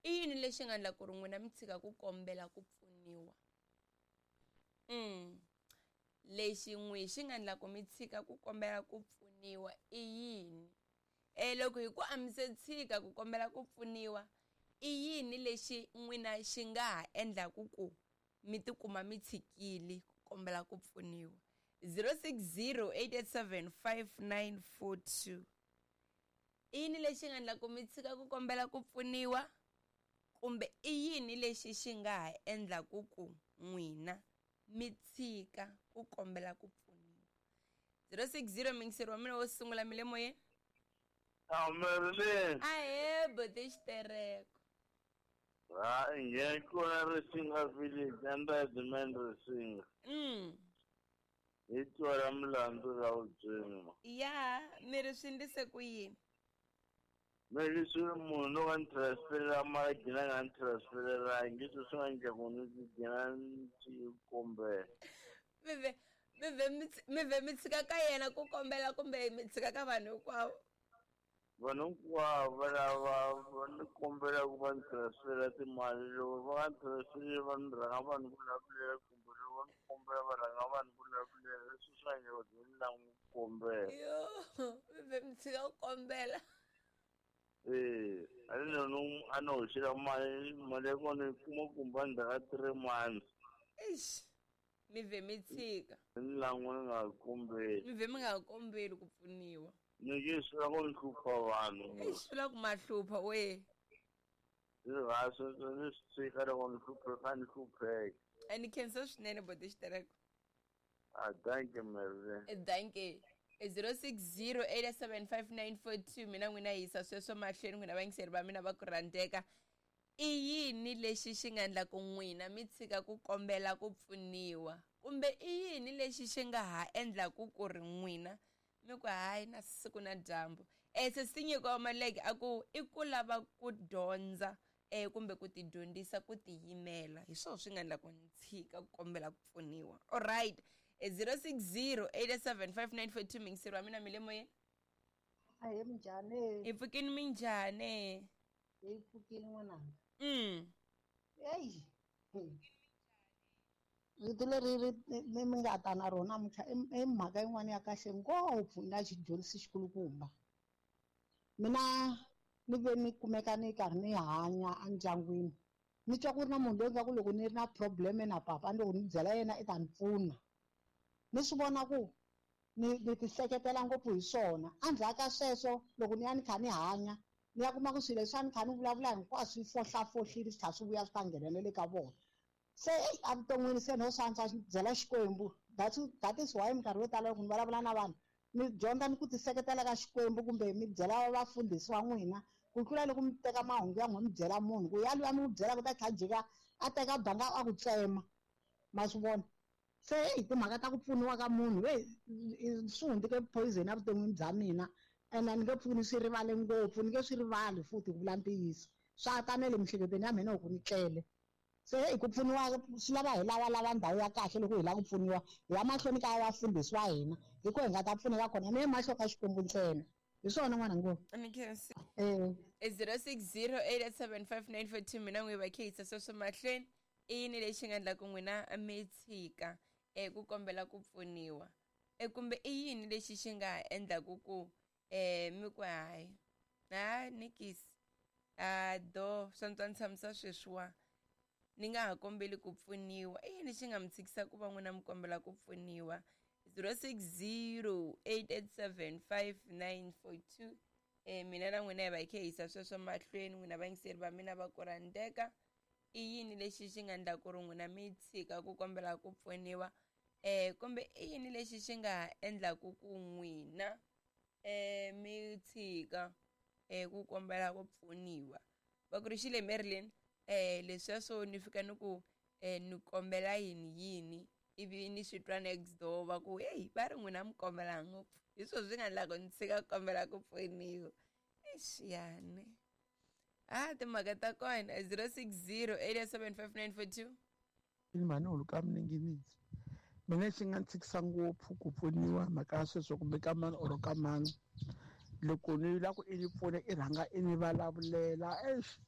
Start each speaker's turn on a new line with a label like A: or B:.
A: I yini lexi nga endla ku ri n'wina mi tshika ku kombela ku pfuniwa? Lexi n'wi xi nga endla ku mi tshika ku kombela ku pfuniwa i yini? Loko hi ku a mi se tshika ku kombela ku pfuniwa, i yini lexi n'wina xi nga ha endlaku ku mi tikuma mi tshikile ku kombela ku pfuniwa? 060 887 5942. I yini lexi nga endla ku mi tshika ku kombela ku pfuniwa, kumbe i yini lexi xi nga ha endlaku ku n'wina mi tshika ku kombela ku pfuniwa? 060 mingiseri wa mina wo sungula mi le moyeni.
B: Marilyn.
A: Ahee, buti Xitereko.
B: Ha, nge kona Risinga village under the man Risinga. Hi twala mulandzu ra vutswima.
A: Ya, mi ri swi ndlise ku yini?
B: Mi ri swi munhu loko a ni transferela mali a gina nga ni transferelangi, leswi swi nga endla ku ni gina ni swi kombela.
A: Mi ve mi ve mi mi ve mi tshika ka yena ku kombela kumbe mi tshika ka vanhu hinkwavo?
B: Vanhu hinkwavo va lava va ni kombela ku va ni transfera timali, loko va nga ni transfereli va ni rhanga va ni vulavulela, kumbe loko va ni kombela va rhanga va ni vulavulela, leswi swi nga endla ku ni lava ku kombela.
A: Yo, mi ve mi tshika ku kombela.
B: A ni no a ni hoxela mali, mali ya kona yi kuma kumbe endzhaku ka 3 months.
A: Eish, mi ve mi tshika.
B: Ni lan'we ni nga kombeli.
A: Mi ve mi nga kombeli ku pfuniwa.
B: Ni nge swi lava ku ni hlupha vanhu.
A: Eish, swi lava ku ma hlupha we.
B: Ni sweswo ni swi tshika loko ni hlupheka ni hlupheka.
A: A ni khensa swinene boti Xitereko.
B: Ah, thank you, Marilyn.
A: Thank you. 060 875 mina n'wina yisa sweswo mahlweni n'wina vayingiseri va mina va ku rhandzeka. I yini lexi xi nga endla ku n'wina mi tshika ku kombela ku pfuniwa, kumbe i yini lexi xi nga ha endlaku ku ri n'wina mi ku hayi na siku na dyambu? Sesi Nyiko wa Maleke a ku i ku lava ku dyondza kumbe ku ti dyondzisa ku tiyimela, hi swona swi nga endla ku ni tshika ku kombela ku pfuniwa. Alright, 060 875 mingiseri wa mina mi le moyeni.
C: Ahee, minjhani?
A: Hi pfukini, minjhani?
C: Hi pfukini n'wananga. Eyi, rito leri ri mi nga ta na rona namuntlha i mhaka yin'wana ya kahle ngopfu na xidyondzisi xikulukumba. Mina ni ve ni kumeka ni karhi ni hanya endyangwini, ni twa ku ri na munhu loyi nga ku loko ni ri na problem na papa, loko ni byela yena i ta ni pfuna. Ni swi vona ku ni ti hleketela ngopfu hi swona. Endzhaku ka sweswo loko ni ya ni kha ni hanya, ni ya kuma ku swilo leswi a ni kha ni vulavula hinkwaswo swi fohlafohlile, swi tlhela swi vuya swi ta nghena le ka vona. Se evuton'wini se no swi antswa byela Xikwembu. That is why minkarhi yo tala loko ni vulavula na vanhu mi dyondza ni ku ti seketela ka Xikwembu, kumbe mi byela vafundhisi wa n'wina, ku tlula loko mi teka mahungu ya n'wina mi byela munhu, ku ya luya mi n'wi byela ku ta tlhela jika a teka banga a ku tsema. Ma swi vona? Se hi timhaka ta ku pfuniwa ka munhu, swi hundzike poison evuton'wini bya mina, ene ni nge pfuki ni swi rivale ngopfu, ni nge swi rivali futhi ku vula ntiyiso. Swa ta na le miehleketweni ya mina loko ni tlele. Se hi ku pfuniwa swi lava hi lavalava ndhawu ya kahle loko hi lava ku pfuniwa, hi ya mahlweni ka vafundhisi wa hina, hi ko hi nga ta pfuneka kona, ni emahlweni ka Xikwembu ntsena. Hi swona n'wana ngopfu.
A: Ni khensi. 060 875 mina n'wi va khehisa sweswo mahlweni. I yini lexi nga endla ku n'wina mi tshika ku kombela ku pfuniwa, kumbe i yini lexi xi nga endlaku ku mi ku hayi ha nikisi a do swa ni twa ni tshamisa sweswiwa ni nga ha kombeli ku pfuniwa? I yini xi nga mi tshikisa ku va n'wina mi kombela ku pfuniwa? 060 887 5942. Mina na n'wina hi va hi khe hisa sweswo mahlweni, n'wina vayingiseri va mina va ku rhandzeka. I yini lexi xi nga endla ku ri n'wina mi tshika ku kombela ku pfuniwa, kumbe i yini lexi xi nga endlaku ku n'wina mi tshika ku kombela ku pfuniwa? Va ku ri xile Marilyn, leswiya swo ni fika ni ku ni kombela yini yini, ivi ni swi twa next door va ku hey, va ri n'wina mi kombela ngopfu, hi swona swi nga endla ku ni tshika ku kombela ku pfuniwa. Eish, yani timhaka ta kona. 060 875
D: Mhani huluka mininginisi, mina xi nga ni tshikisa ngopfu ku pfuniwa mhaka ya sweswo kumbe ka mani or ka mani, loko ni lava ku i ni pfuna i rhanga i ni vulavulela, eish,